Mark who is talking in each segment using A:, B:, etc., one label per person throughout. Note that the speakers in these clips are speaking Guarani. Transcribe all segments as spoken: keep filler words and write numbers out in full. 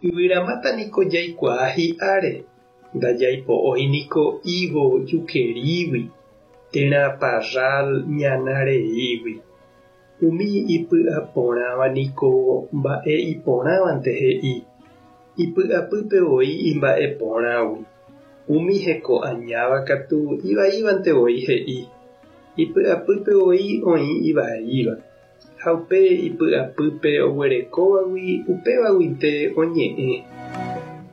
A: Yvyramáta niko jaikuaa hi'áre, ndajaipo'ói niko higo jukerígui térã parral ñana reígui. Umi ipy'aporãva niko mba'e iporãvante he'i, ipy'apýpe voi imba'eporãgui. Umi heko añáva katu ivaívante voi he'i, ipy'apýpe voi oĩ ivaíva. Ha upe ipy'apýpe oguerekóvagui upévaguinte oñe'ẽ.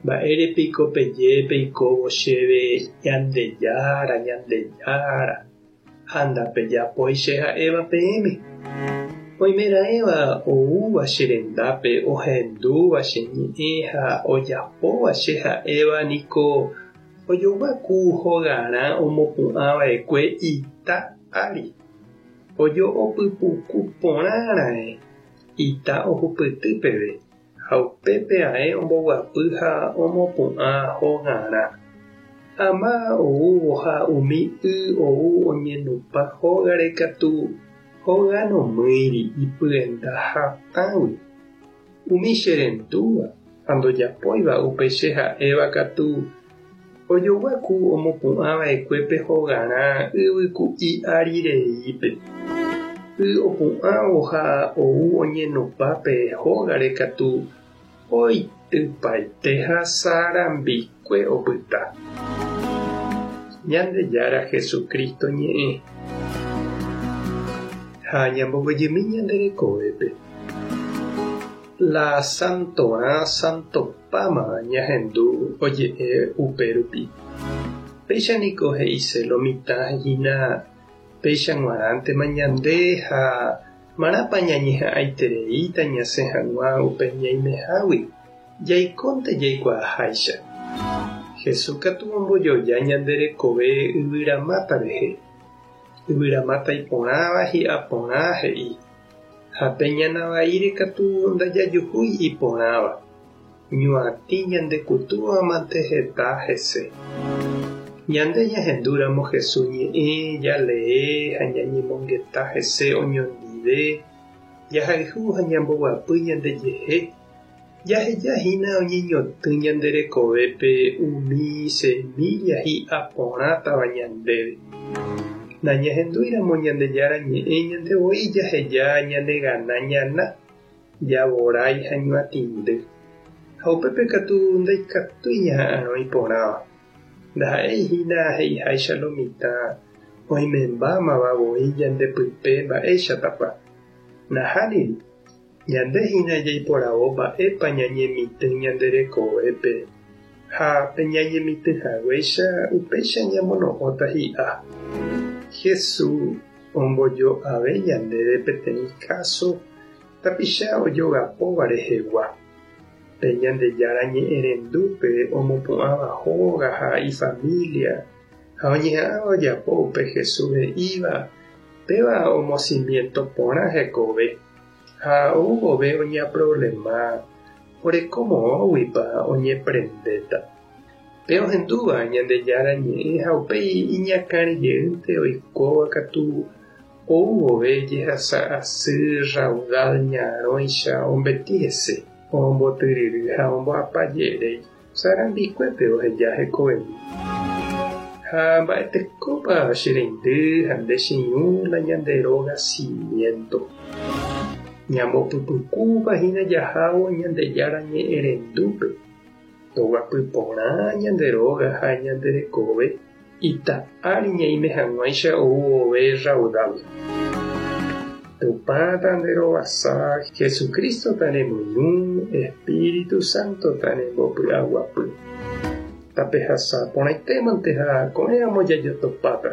A: Mba'érepiko peje peikóvo chéve Ñandejára, Ñandejára, ha ndapejapói che ha'éva peẽme. Oimeraẽva oúva che rendápe ohendúva che ñe'ẽ ha ojapóva che ha'éva niko ojogua ku hogarã omopu'ãva'ekue ita ári. Ojo'opypuku porãra'e ita ohupyty peve ha upépe ae omboguapy ha omopu'ã hogarã. Ama oúvo ha umi y ou oñenupã hógare katu hóga nomýiri ipyenda hatãgui. Umi cherendúva ha ndojapóiva upe che ha'éva katu ojogua ku omopu'ãva'ekue pe hogarã yvyku'i ári reípe. Y opu'ãvo ha ou oñenupã pe hógare katu oitypaite ha sarambikue opyta. Ñandejára Jesucristo ñe'ẽ. Ha ñamboguejymi ñande rekovépe. La santorã santopáma ñahendu oje'e upérupi. Péicha niko he'ise lo mitã hína péicha g̃uarãntema ñande ha marãpa ñañeha'ãitereíta ñasẽ hag̃ua upe ñaimehágui jaikónte jaikuaaháicha. Jesús katu ombojoja ñande rekove yvyramáta rehe. Yvyramáta iporãva hi'aporã he'i. Ha pe ñana vaíre katu ndajajuhúi iporãva. Ñuatĩ ñandekutúvamante heta hese. Ñande ñahendúramo Jesús ñe'ẽ jalee ha ñañemongeta hese oñondive, jahayhu ha ñamboguapy ñandejehe, jahejahína oñeñotỹ ñande rekovépe umi semilla hi'aporãtava ñandéve. Nañahendúiramo Ñandejára ñe'ẽ ñandevoi jaheja ñanegana ñana, javorái ha ñuatĩndy. Ha upépe katu ndaikatúi ñaha'arõ iporãva. Ndaha'éihína he'iháicha lo mitã oimembámava voi ñandepype mba'éichatapa. Nahániri, ñandehína jaiporavo mba'épa ñañemitỹ ñande rekovépe ha pe ñañemitỹhaguéicha upéicha ñamono'õta hi'a. Jesús ombojo'ave ñandéve peteĩ káso tapicha ojogapóva rehegua. Pe Ñandejára ñe'ẽrendúpe omopu'ãva hóga ha ifamilia ha oñeha'ãva ojapo upe Jesús he'íva péva omocimiento porã hekove ha ou vove oñeaproblema orekomoõguipa oñeprendéta. Pe ohendúva Ñandejára ñe'ẽ ha upéi iñakãrejeýnte oikóva katu ou vove jehasa asy raudal ñarõicha ombeti hese, ombotyryry ha omboapajeréi sarambikuépe oheja hekovemi. Ha mba'etekópa che reindy ha nde che irũ la ñande róga cimiento. Ñambopypukúva hína jahávo Ñandejára ñe'ẽrendúpe. Toguapy porã ñande róga ha ñande rekove ita ári ñaime hag̃uáicha ou vove raudal. Tupã tanderovasa, Jesucristo tanemoirũ, Espíritu Santo tanembopy'aguapy. Tapehasa porãitémante ha ko'ẽramo jajotopáta.